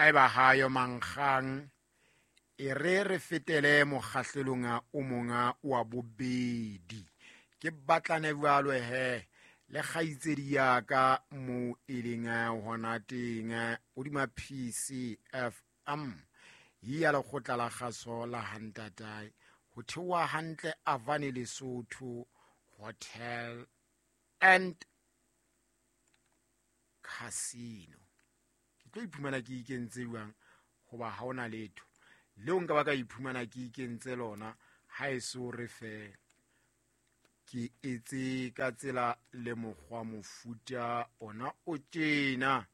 Haeba hayo mankgang, e re re fetele mokgahlelong o mong wa bobedi. Ke batlane jwalo he le kgaitsedi ya ka mo e leng hona teng hodima PCFM ya lekgotla la kgaso la hantatae ho theoha hantle Avane Lesotho Hotel and Casino. Ke tlo iphumana ke ikentse jwang hoba ha ona letho leo nka ba ka iphumana ke ikentse lona ha e so re fela ke etse ka tsela le mokgwa mofuta ona o tjena.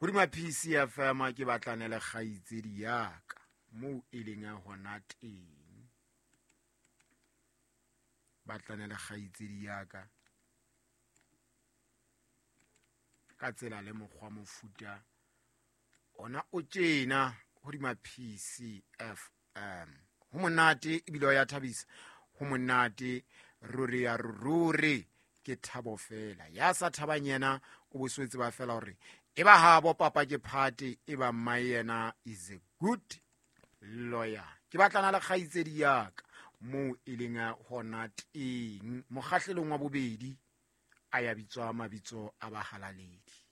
Hodima PCFM ke batlane le kgaitsedi ya ka moo e leng hona teng. Batlane le kgaitsedi ya ka ka tsela le mokgwa mofuta ona o tjena hodima PCFM. Ho monate ebile ya thabisa, ho monate ruri ya ruri, ke thabo fela. Ya sa thabang yena o bo swetse ba fela hore e ba habo papa ke phate, e ba mma yena is a good lawyer. Ke batlana le kgaitsedi ya ka moo e leng hona teng mokgahlelong wa bobedi a ya bitswa mabitso a bahalaledi.